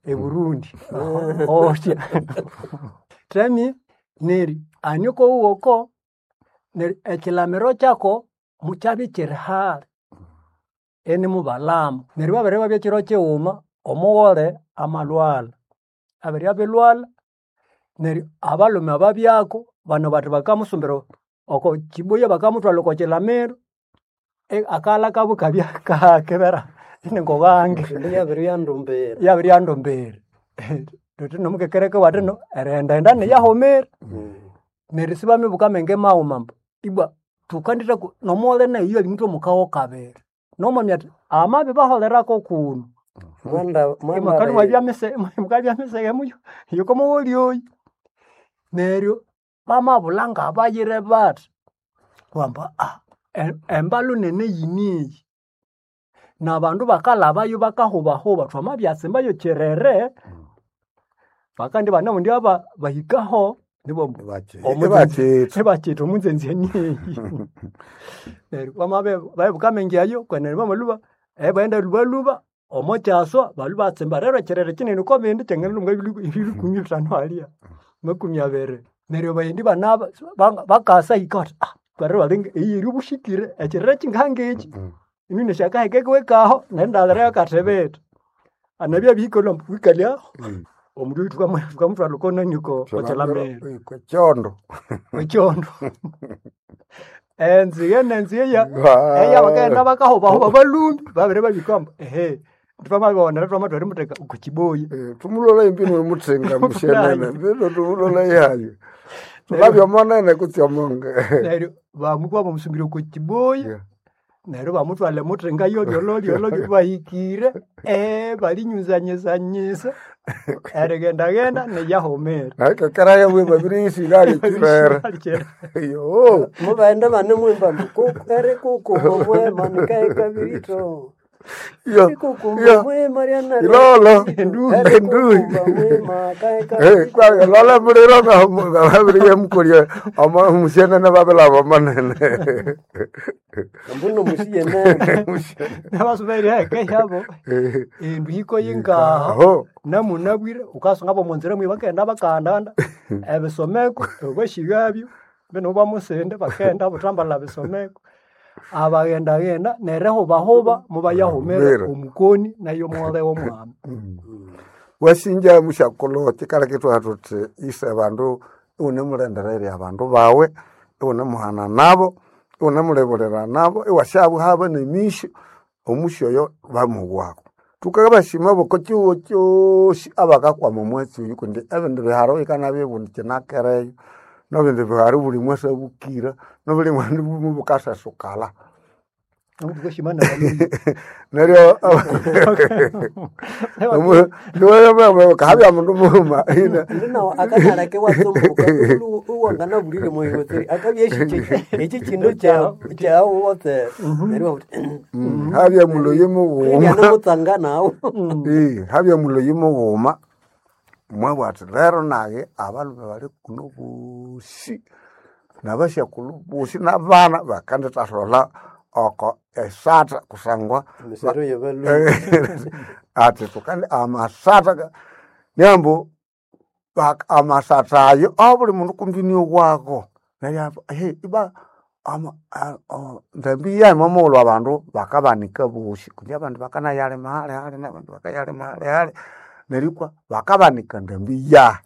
Eburundi otya temi neri aniko wuwoko neri ekilamiro kyako mukyabya kiri hali inimubalama. Neryo babere babya kiro kighuma omughole amalhwalha, abere abilhwalha neryo abalhume ababyako bano bathi bakamusumbira oko kibuya bakamuthwalha oko kilamiro, akaghalha kabo ikabya kakibera iningobange. Yabiryandumbira. Yabiryandumbira. Thuthi nomukekereko iwathino erighendaghenda niyahumira. Neryo sibamibuka amenge maghuma ambu ibwa thukandithaku nomughole naye iyo ali mutwe kabiri. Nomwami athi amabibaholerako kunu. Mwanda Imwakabya mwanda mukabya miseghe muyo yokomugholi oyu. Neryo bamabulha ngabayire bathi kwamba embalu nene yiniyi. N'abandu bakalhabayo bakahubahuba thwamabyatsimbayo kyerere, bakandi banamundi aba bahikaho nibo Ibakitha. ibakitha omunzenze niyi. Neryo bamabe babibuka amenge ayo kwenene bamalhuba ebaghenda lhubalhuba omo kyaswa balhwa ibatsimba rero ekyerere kinene oko bindi kyanganalhwa ebirukumi bithanu halya, 20. Neryo baghendi banaba bakasa hika bathi twarero balinga eyi eri obushikire ekyerere kingangekyi. Inu nesyakaheka kiwe kaho nendalira yakathibitha. Anabya abihika lhwambu wikalye aho omundu oyu thukamuthwalha oko nani oko kyilamiro. Kyondo. Ekyondo. Enzighe nenzighe eyabakaghenda bakahubahuba balhumbi babere babika ambu ehe thwamabighonera thwamathwala erimutheka oko kiboya. Thumulola embino emuthinga mushenene mbino thumulola ihayo. Thukabya omonene kutse omonge. Neryo bamukwa bamusumbira oko kiboya neryo bamuthwala emuthinga yolyololyolo bahikire balinyuzanyizanyisa erighendaghenda niyahumira. Nakekerayo bwe babiriyisira ali kirere. Yo. Mubaghenda banemwimba ambu erikukumba omwema nikahekabirito. Yo. Erikukumba Yo. omwema lyana Ilolo. Endui. Erikukumba omwema kahekabirito. Kwa lola muliro nga babiriyemukolya omo mushenene babilaba omonene. Ambu nomusiyenene. Nabasuba eriheka yabo endu hiko yingaho Aho. namunabwire wukasunga bomunzira mwe bakaghenda bakaghanda ebisomeko obashighabyo bino bamusinde bakaghenda buthambalha bisomeko. Abaghendaghenda nerihubahuba mubayahumira Humira. omukoni nayo omughole w'omwami. Wasinja mushakulhu kyikaleka ithwabugha thuthi ise bandu iwunemulhendererya abandu bawe, iwunemuhana nabo, iwunemulibulira nabo, iwasyabuhaba nemisyo, omusyo oyo bamuwako. Thukabasima boko kyihugho kyosi abakakwama omwatsi oyu kundi ebindi biharo yikanabya obundi kyinakereyo, nebindi biharo buli mwasi abukira, nobuli mwandu mubukasasukala. Thukashima nabalhuya. Neryo habya mundu mughuma Ndinawo akanaleka iwatsumbuka iwanganabulire mwayiwetseri akabya esyikyi ekyi kindu kyawu wotsere neryo iwabugha wuthi habya muloyi mughuma yanamutsanga nawu. Habya muloyi mughuma mwabugha athi lero nayi abalhume bali kuno bosi nabasyakulhu bosi nabana bakandithatholha oko esatha kusangwa Emisero yabalhuya. athi thukandi amasatha niambu amasatha ayo abuli mundu kumbi niowako neryo iba ndambi yayi mwamughulhu abandu bakabanika bosi kundi abandu bakanayalima halihali nabandu bakayalima halihali neryo ikwa bakabanika ndambi yahi.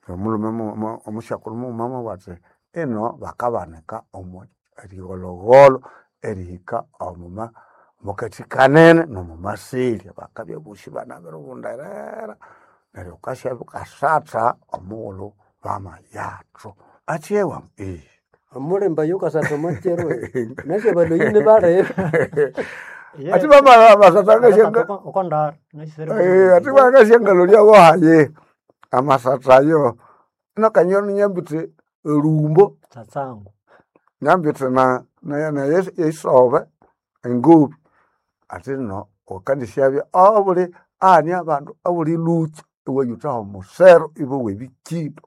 Omulhume omusyakulhu mughuma mwabugha athi ino bakabanika omo erigholhogholho erihika omuma omukathi kanene nomumaselya bakabya bosi banabiribunderera neryo wukasya wukasatha omughulhu bamayathu. Athyewa Omulembe oyo wukasatha omwakyiro nasi abalhuyi nibalebe. Athi bamasatha ngasyangalolya Okondara athi bangasyangalolya hayi amasatha ayo nakanyoni nyambithe erumbo Tsatsangu. nyambithe na eyisobe engobi athi no wukandisyabya abuli ahani abandu abuli lhukya iwayuthaho omusero ibowa ebikindo.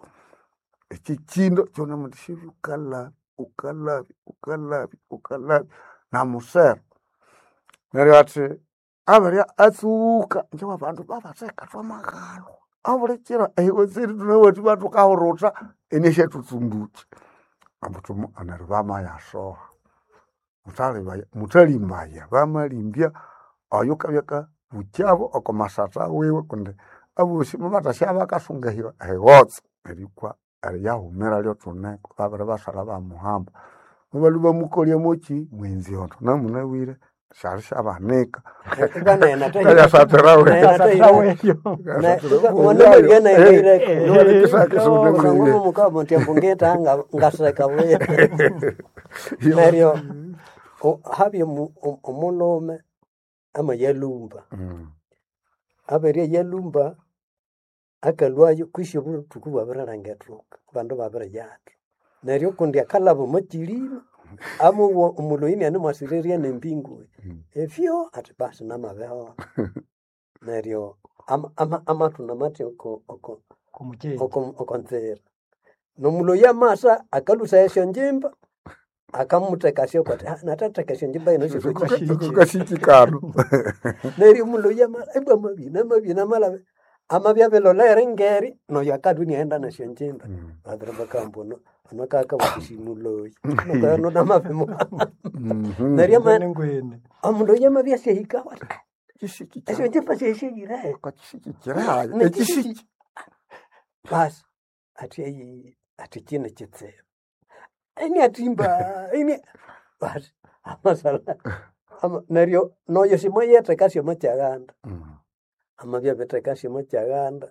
Ekyikindo kyunemuthasyabya wukalhabya wukalhabya wukalhabya wukalhabya namusero. Neryo athi. Abarya atsuka njewa abandu babatheka twamaghalwa abulikiro ehiweseri thunawethu bathukahurutha eneshathutsumbuki ambu thumu neryo bamayasoha muthalibaya muthalimbaya bamalimbya oyo kabya kabukyabo oko masatha wiwe kundi abosi mubathasya bakasunga ehighotse nerikwa eriyahumira lyothuneko babiri basalha bamuhamba mubalhwa bamukolya moki mwenziondo namunabwire syali syabanika Kayasatira we. mukabontiambungeta ngaseka buya neryo habya omulhume amayalumba aberya yalumba akalwayo kwisi obuthuku bwabirilanga ethuka abandu babiriyathu neryo okundi akalhaba omwa kyilima amuwa omulhoyi inianimwasirirya nembingo efyo athi basi namabiholha neryo amathuna mathi okonzira nomulhoyi amasa akalhusaya esyonjimba akamuthekasya athi nathatheka esyonjimba ino kashikikano neryo omulhoyi amasa ibwa amabina amabina amalaba amabya abilolere ngeri noyo akalhwa iniaghenda nesyonjimba babiri bakagamba ono ono akakabukisya muloyi nokoyo namabimuhamba neryo omundu oyo amabya asyahikaho athi esyonjimba syasyahirahe ekisiki basi athi ayi athi kino kitsibu iniathimba ini basi amasala neryo noyo simwayetheka syomo kyaghanda amabya abitheka syomo kyaghanda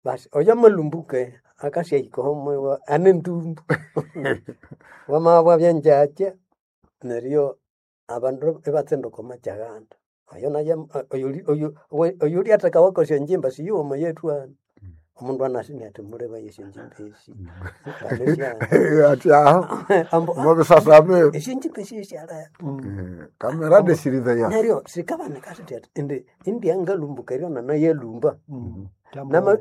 basi oyo amalumbuke akasyahikaho mwiwa ane ntumbu wamabya byangyakya neryo abandu ibatsinduka omo kyaghanda oyo naye oyulyathekawa kwesyanjimba siyuwoma yethu hano omundu anasi iniathi muleba esyanjimba esi athi aho mubisasame esyanjimba esi esyaleba kamera desirizeya neryo sikabanika sithi athi indi indiangalumbuka eryo nanayalumba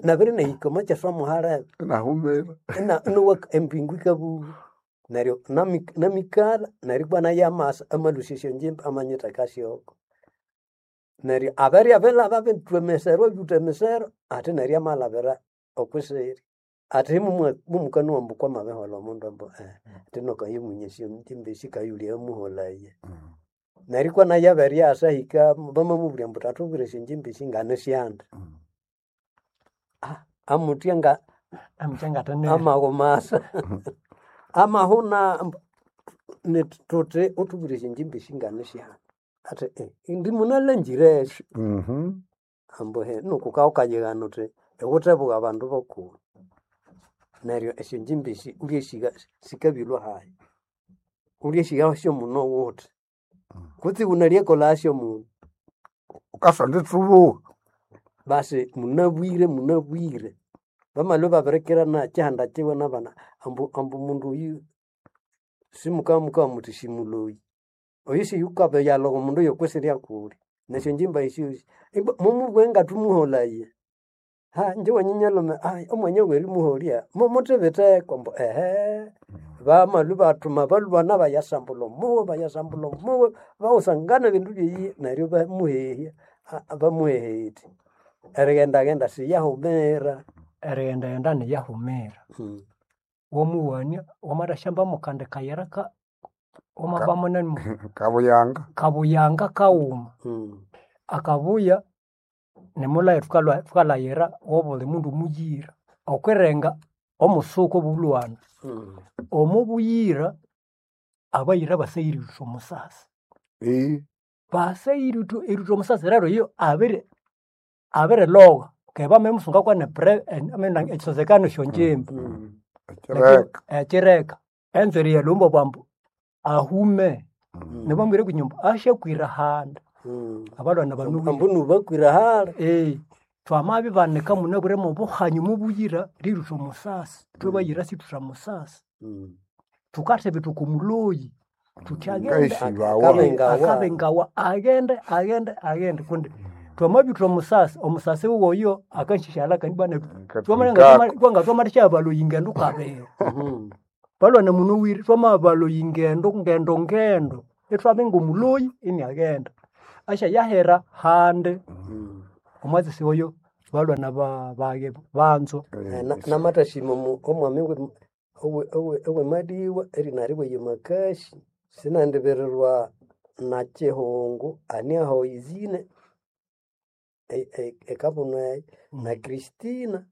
nabiri nahika omo kyaswamuhalebe nahumira inowa empingu ikabuha neryo namikalha neryo ibwa nayo amasa amalhusya esyonjimba amanyitheka syoko neryo abirya bilaba bithwa emisero abyutha emisero athi neryo amalhabira okwisiri athi mumukanwa ambu kwamabiholha omundu ambu athi nokayimunya esyonjimba esi kayulya amuholaya neryo ikwa nayo abiryasa ahika bamamubulya ambu thathubwire esyonjimba esi nganisyandi amuthya nga amaghumasa amahuna thuthi uthubwire esyonjimba esi nganisyandi athi indi munalhanzire esyo ambu nuku wukawukayighana wuthi iwuthebugha abandu bokuli neryo esyonjimba esi wulyesiga sikabilwa hayi wulyesiga syomuno wuthi kutse wunalyakolasyo munu wukasonda itsubuha basi munabwire munabwire bamalhwa ibabirikirana kyihanda kyiwe nabana ambu ambu mundu oyu simukabya muthi simuloyi oyu siyukabiyalhowa omundu oyokwisirya kuli nesyonjimba esyosi ibwa mumubughe ngathumuholaya ha inje wanyinyalhume omwanya werimuholya mumuthibitheko ambu ehe bamalhwa ibathuma balhwana bayasambulha omuwe bayasambulha omuwe bawusangana ebindu byeyi neryo bamuhehya bamuhehethi erighendaghenda siyahumira erighendaghenda niyahumira wamuwania wamathasyamba mukandi kayira ka wamabamo nani kabuyanga kabuyanga kawuma akabuya nimulhaye thukalhayira wobuli mundu muyira okwirenga omusuku obulwana omo buyira abayira basaghire erithwa omusasi basaghire erithwa omusasi rero iyo abiri abirilogha keghe bamabimusunga kwane ekisozekano esyonjimba ekireka enzweri eyalhumba bwambu ahume nibamubwira kunyumba asyakwira handa abalwana banu ambu nubakwira hali twamabibanika munabwire mobuhanyu mubuyira ririthwa omusasi thwebayira sithutha musasi thukathibitha omuloyi thuthi aghende akabengawa aghende aghende aghende kundi twamabithwa omusasi omusasi woyo akasyasyalha kandi bwana twangatwamathisya baloyi ngendo kabiri balwana munowire twamabaloyi ngendo ngendo ngendo ithwabinga omuloyi iniaghenda. Ashayahera handi omwazisi oyo balwana bage banzo. Namatashima omwami owemadiwa erina riwe Makashi sinandibirirwa na Kihungu ani aho izine ekabuno eyo na Christina.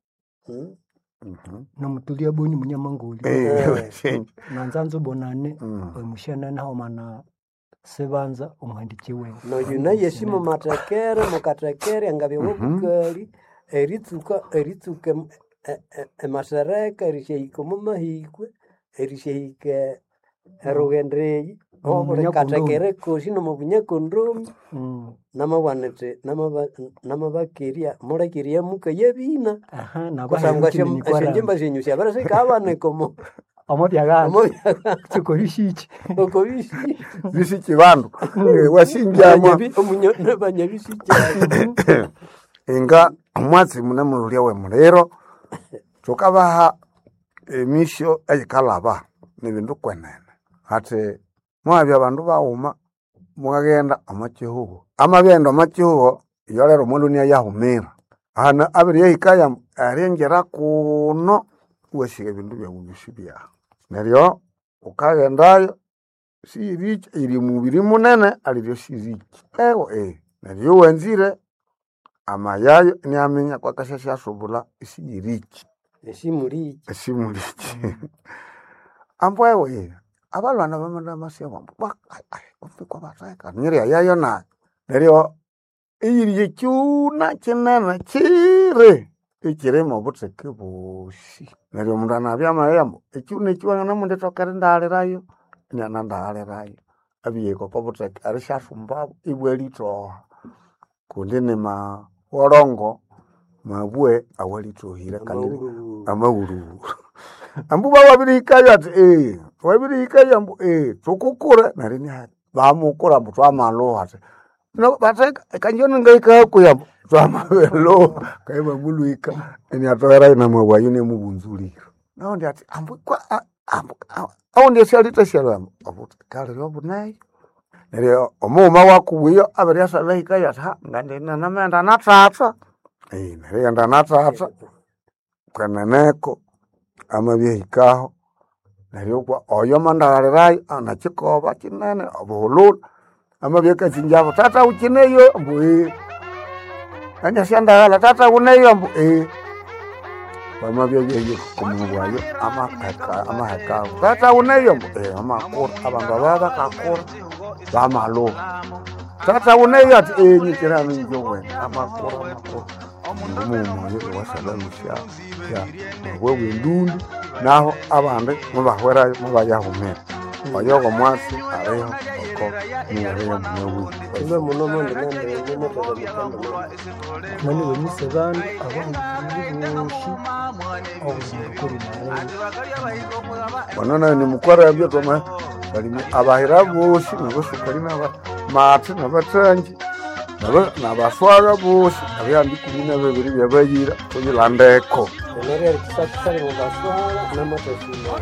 Nomutulia boni munyamangoli nanzanzo bonane omushanana homana sebanza omuhandiki wewe. Noyu naye simo matekere mukatekere angabya wobukali eritsuka eritsuka emasereka erishahika omo mahikwe erishahika erughendo eyi obuli katekere kosi nomubunyakondromi. Namabwana indi namabakerya mulekerya muka yabina kusangwa esyanjimba syenyu syabirisikabwanika omo omo byaghanza sikobishiki okobishiki bisiki bandu wasinjamwa banyabishiki. Inga omwatsi munemululya wemuliro thukabaha emisyo eyikalhaba nibindu kwenene hathi mwabya bandu baghuma mwaghenda omo kihugho amabyaghenda omo kihugho iyo lero omundu inayahumira hana abirihikayo eringira kuno iwasigha ebindu byawu byosi byahu neryo wukaghendayo siyiriki yiri mubiri munene aliryo siriki ewa neryo iyo wanzire amayayo inaminya kwakasyasubula isiyiriki esimuliki esimuliki ambu ewa abalhwana bamandamasi ambu kwabatheka nyiryayayo nayo neryo eyiri ekyuna kinene kyiri ikyirimo obutheke bosi neryo omundu anabya amabya ambu ekyuna ekyi wanganamundithoka erindaghalirayo inanandaghalirayo abiyahika oko butheke erisyasumbabo ibwalithoha kundi nimawolongo mabwe awalithohire kandi amawulhuwulhu ambu bawabirihikayo athi wabirihikayo ambu thukukure neryo iniathi bamukura ambu thwamalhuha athi batheka kanji ningahika hakuhi ambu thwamabilhuha kayi bamulhwika iniathogherayo namabwe ayo inamubunzulira naundi athi ambu ambu awundi esyalithasyalu ambu obutheke aliryo obuneyo neryo omughuma wakubwiyo abiryasa ahikayo athi ngandinamaghenda nathatha nerighenda nathatha kweneneko amabyahikaho neryo kwa oyo amandaghalirayo anakikoba kinene obuhululu amabya akathinjabo thatha wukineyo ambu aniasyandaghala thatha wuneyo ambu wamabya byahika okumubwayo amahekawo thatha wuneyo ambu amakura abandu aba bakakura bamalhuha thatha wuneyo athi nyikirano inje wene amakura amakura omughuma oyo iwasalhalusya mabwe wendundu naho abandi mubahwerayo mubayahumira oyo ngomwatsi aliho oko mibere yomunyawini Ime muno mondi nandi nani wenyise bandu abahikirire bosi obuli bano nayo nimukwarabya twama balimi abahira bosi nabasukali naba matsi nabathangi nabaswaga bosi abyandi ikumi nababiri byabayira thuyilandeko Neryo erikisakisali mubaswala namatashima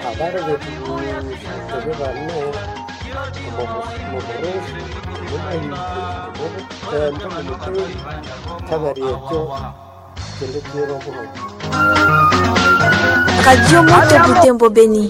abali bethu bosi ebibane omuburusi omumahiko omubutembo omumuturi kyabali ekyo kindu kiro obuhogo. Radio Moto Butembo Beni.